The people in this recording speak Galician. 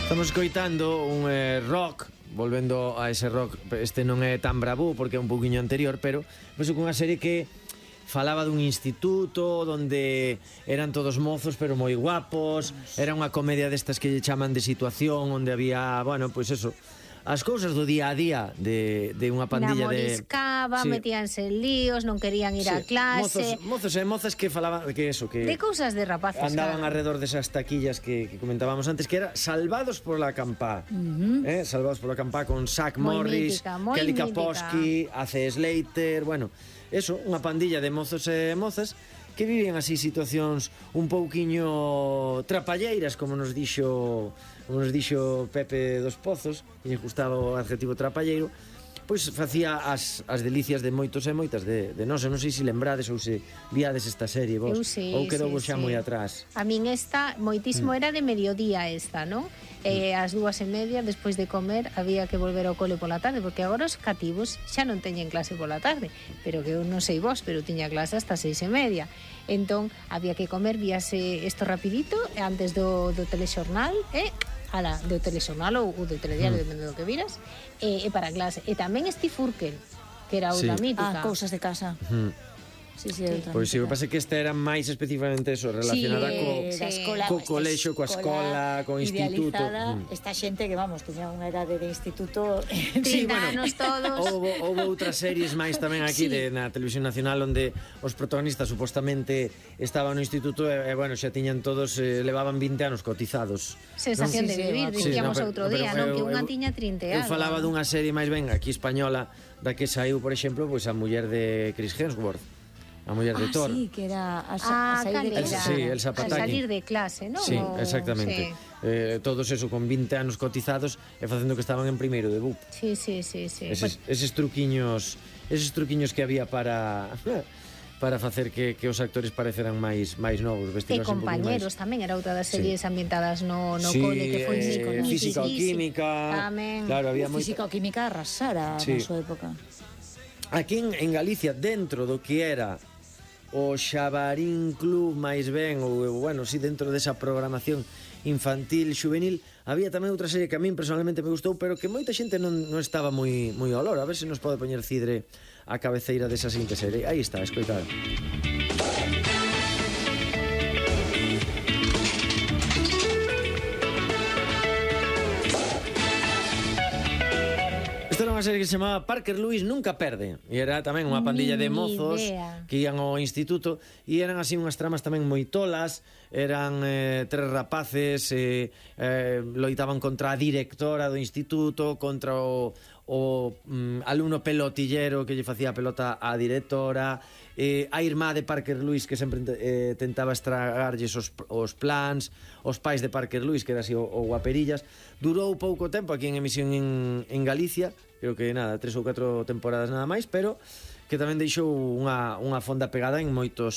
Estamos escoitando un rock, volvendo a ese rock. Este non é tan bravo porque é un pouquiño anterior, pero penso que unha serie que falaba dun instituto onde eran todos mozos pero moi guapos. Era unha comedia destas que lle chaman de situación, onde había, bueno, pois eso, as cousas do día a día de unha pandilla de... Namoriscaba, metíanse en líos, non querían ir a clase. Mozos e mozas que falaban que eso, que de cousas de rapaces, andaban alrededor desas taquillas que comentábamos antes, que era Salvados por la Campá. Salvados por la Campá con Zach Morris, Kelly Kapowski, A.C. Slater, bueno, eso, unha pandilla de mozos e mozas que viven así situacións un pouquiño trapalleiras, como nos dixo Pepe dos Pozos, que lle gustaba o adjetivo trapalleiro. Pois facía as delicias de moitos e moitas de nós. Non sei se lembrades ou se viades esta serie vos, ou quedou vos xa moi atrás. A min esta moitísimo era de mediodía esta, non? As 2:30 despois de comer había que volver ao cole pola tarde, porque agora os cativos xa non teñen clase pola tarde, pero que eu non sei vos, pero tiña clase hasta 6:30. Entón había que comer, víase isto rapidito antes do telexornal, do telexornal ou do telediario, depende do que viras, e para a clase. E tamén Steve Urkel, que era outra mítica. Cousas de casa. Sí, pois si, o que pasa é que esta era máis especificamente eso, relacionada co colexo, coa escola, co instituto. Esta xente que, vamos, teña unha edade de instituto... 30 anos todos. Houve outras series máis tamén aquí na Televisión Nacional onde os protagonistas supostamente estaban no instituto e bueno, xa tiñan todos, levaban 20 anos cotizados. Sensación de vivir, dicíamos outro día, non? Que unha tiña 30 anos. Eu falaba dunha serie máis ben aquí española, da que saiu, por exemplo, pois a muller de Chris Hemsworth, a muller de Thor. Sí, que era a sair de clase. Sí, Elsa Pataky. A salir de clase, non? Sí, exactamente. Todos eso con 20 anos cotizados e facendo que estaban en primeiro de BUP. Sí. Eses truquiños que había para facer que os actores pareceran máis novos, vestidos e compañeros tamén, era outra das series ambientadas no cole, que foi física ou química. Tamén. Claro, había física ou química arrasara na súa época. Aquí en Galicia, dentro do que era o Xabarín Club, máis ben, ou, bueno, si dentro desa programación infantil, juvenil, había tamén outra serie que a min personalmente me gustou, pero que moita xente non estaba moi ao loro. A ver se nos pode poñer Cidre a cabeceira desa seguinte serie. Aí está, escoitad. Esta era unha serie que se chamaba Parker Lewis Nunca Perde, e era tamén unha pandilla de mozos que ian ao instituto, e eran así unhas tramas tamén moi tolas. Eran tres rapaces, loitaban contra a directora do instituto, contra o alumno pelotillero que lle facía pelota á directora, a irmá de Parker Lewis que sempre tentaba estragarlles os plans, os pais de Parker Lewis, que era así o guaperillas. Durou pouco tempo aquí en emisión en Galicia, creo que nada, 3 ou 4 temporadas nada máis, pero que tamén deixou unha fonda pegada en moitos